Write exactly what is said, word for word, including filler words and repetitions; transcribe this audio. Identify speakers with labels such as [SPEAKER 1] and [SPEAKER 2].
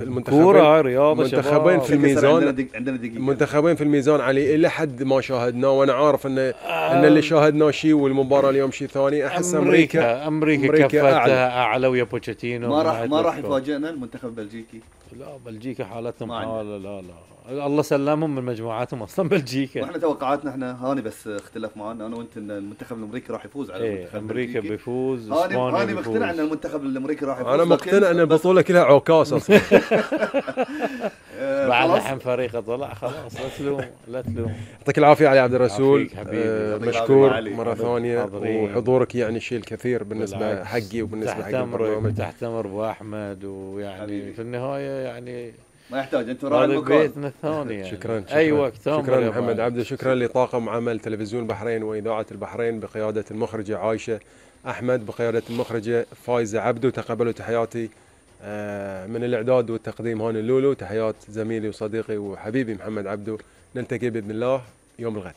[SPEAKER 1] المنتخبين
[SPEAKER 2] رياضه
[SPEAKER 1] المنتخبين في الميزان
[SPEAKER 3] عندنا دقيقة.
[SPEAKER 1] المنتخبين في الميزان علي الى حد ما شاهدناه، وانا عارف ان ان اللي شاهدناه شيء والمباراه اليوم شيء ثاني. احس امريكا
[SPEAKER 2] امريكا, أمريكا كفتها اعلى, أعلى ويا بوتشيتينو.
[SPEAKER 3] ما راح ما راح يفاجئنا المنتخب البلجيكي.
[SPEAKER 2] لا بلجيكا حالتهم حاله، لا لا الله سلمهم من مجموعاتهم اصلا بلجيكا.
[SPEAKER 3] واحنا توقعاتنا احنا هاني بس اختلف معنا انا وانت ان المنتخب الامريكي راح يفوز على
[SPEAKER 2] ايه
[SPEAKER 3] المنتخب
[SPEAKER 2] امريكا بيفوز.
[SPEAKER 3] هاني هاني مقتنع ان المنتخب الامريكي راح يفوز.
[SPEAKER 1] انا مقتنع ان البطوله كلها عكاس اصلا.
[SPEAKER 2] بعد الحين فريقه طلع خلاص. لا تلوم لا تلوم.
[SPEAKER 1] يعطيك العافيه علي عبد الرسول.
[SPEAKER 2] آه
[SPEAKER 1] مشكور مره ثانيه، وحضورك يعني شيء الكثير بالنسبه حقي وبالنسبه حق البرنامج.
[SPEAKER 2] تحت امر ابو احمد، ويعني حبيبي. في النهايه يعني
[SPEAKER 3] ما يحتاج انت راعي المكان.
[SPEAKER 2] بيتنا الثاني يعني.
[SPEAKER 1] شكرا شكرا,
[SPEAKER 2] أي وقت
[SPEAKER 1] شكرا محمد عبده. شكرا لطاقم عمل تلفزيون البحرين واذاعه البحرين بقياده المخرجه عايشه احمد، بقياده المخرجه فايزه عبده. تقبلوا تحياتي من الاعداد والتقديم هاني اللولو. تحيات زميلي وصديقي وحبيبي محمد عبده. نلتقي باذن الله يوم الغد.